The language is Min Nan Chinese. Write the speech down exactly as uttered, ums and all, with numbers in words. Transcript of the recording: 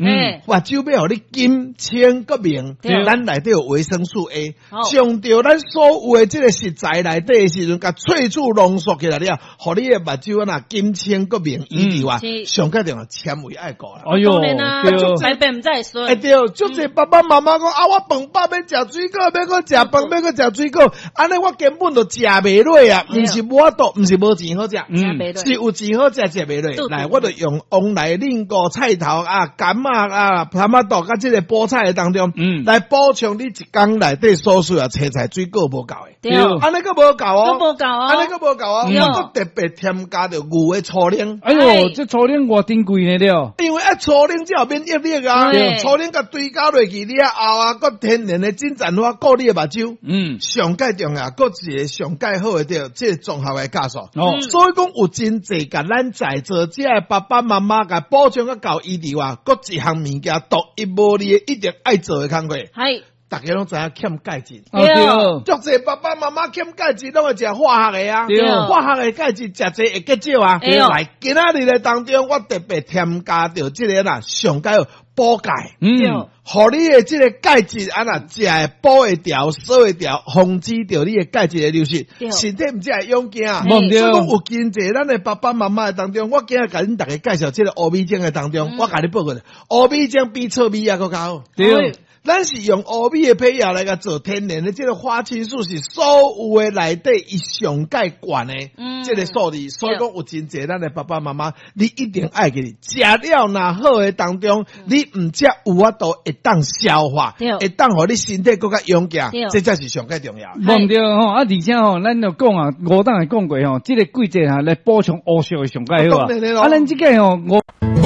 嗯，目睭欲予你金清閣明，對咱內底有維生素 A，好將著咱所有的這个食材內底的時陣，共萃取濃縮起來了，予你的目睭啊若金清閣明以外，是上蓋重要纖維愛顧啦。哎喲，當然啊，對，排便毋知會欸順，對，足濟爸爸媽媽講啊，我飯飽欲食水果，欲閣食飯，欲閣食水果，按呢我根本就食袂落啊！毋是無法度，毋是無錢好食，嗯食袂落是有錢好食，食袂落。來，我就用王梨、輪菇、菜頭啊、柑仔啊、蚶仔肚，佮這个菠菜的當中，嗯來補充你一工內底所需要青菜水果無夠的。對，按呢閣無夠哦，閣無夠哦按呢閣無夠哦，嗯我閣特別添加著牛的粗奶。哎喲，這粗奶偌珍貴呢了，因為啊，粗奶才有免疫力啊對，粗奶共追加落去了後啊，閣天然的金盞花顧你的目睭。嗯，上蓋重要，閣一个上蓋好的著，這个綜合的酵素。哦，所以講有真濟共咱在座這个爸爸媽媽共補充甲夠醫療啊，閣一項物件獨一無二的一定愛做的工課，係逐家攏知影欠鈣質。哦對，足濟爸爸媽媽欠鈣質，攏會食化學的啊，對化學的鈣質食濟會結石啊。對來，今仔日的當中，我特別添加著這个啦，上蓋補鈣。嗯，予你的這个鈣質啊若食會補會牢，掃會牢，防止著你的鈣質的流失，對身體毋才會勇健。無毋對所以講有真濟咱的爸爸媽媽的當中，我今日共恁逐家介紹這个烏米漿的當中，我共你報告，烏米漿比糙米猶閣較好。對，咱是用烏米的胚芽來共做天然的這个花青素，是所有的內底伊上蓋懸的嗯這个數字，所以講有真濟咱的爸爸媽媽，你一定愛記得，食了若好的當中，你毋才有法度會當消化，對會當予你身體閣較勇健對，這才是上蓋重要。無毋對吼，啊，而且吼，咱就講啊，五檔會講過吼，這个季節哈來補充烏色會上蓋好啊當然的咯。啊，咱這个吼五。